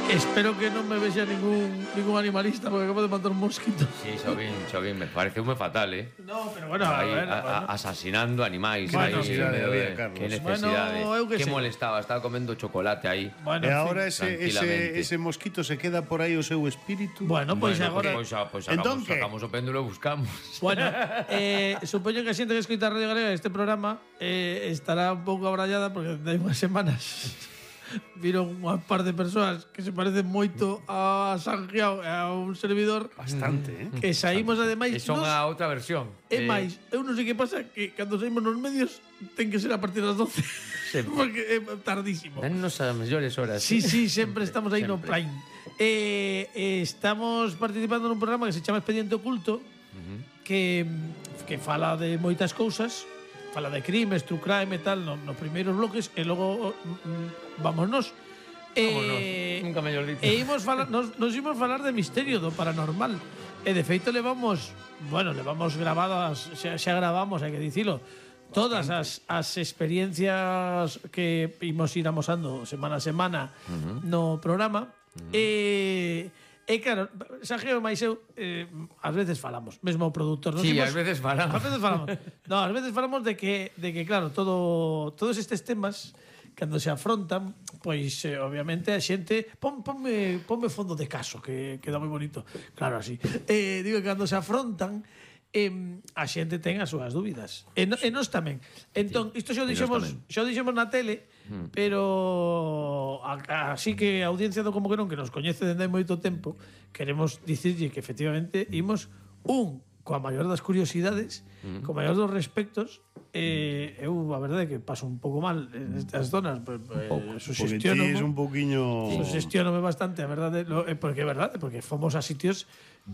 Espero que non me vexa ningún animalista porque acabo de matar un mosquito. Sí, Xobín, me pareceume fatal, No, pero bueno, Aí, a ver, asasinando animais. Bueno, aí, necesidade no medio había, de- Carlos? Que necesidade. Bueno, eu que Que sei. molestaba, estaba comendo chocolate aí. Bueno, E en agora fin. tranquilamente. ese mosquito se queda por aí o seu espírito. Bueno, pois agora Pois Entón, sacamos o péndulo e buscamos. Bueno, supoño que a xente que escoita Radio Galega este programa estará un pouco abrallada porque de unhas semanas viron unha par de persoas que se parecen moito a Sanjiao e a un servidor Bastante, que saímos ademais E son a outra versión. É máis, eu non sei que pasa que cando saímos nos medios ten que ser a partir das 12 porque é tardísimo. Dennos as mellores horas. Sí, sempre estamos aí no Sempre. prime. Estamos participando nun programa que se chama Expediente Oculto que fala de moitas cousas, fala de crimes, true crime e tal nos primeiros bloques e logo vámonos. Nunca mellor dito. E nos imos falar de misterio, do paranormal. E de feito levamos grabadas, xa gravamos, hai que dicilo, todas as experiencias que imos ir amosando semana a semana no programa. E claro, Sanjiao e máis eu ás veces falamos, mesmo o produtor. Sí, ás veces falamos. No, ás veces falamos de que claro, todos estes temas cando se afrontan, pois obviamente a xente ponme fondo de caso que queda moi bonito. Claro, así. Digo que cando se afrontan a xente ten as súas dúbidas. E nós tamén. Entón, isto xa dixemos na tele, pero así que a audiencia do Como que non, que nos coñece dende hai moito tempo, queremos dicirlle que efectivamente imos coa maior das curiosidades, co maior dos respectos. Eu a verdade é que paso un pouco mal nestas zonas, Sugestionome un poquinho. Sugestionome bastante, a verdade, porque é verdade, porque fomos a sitios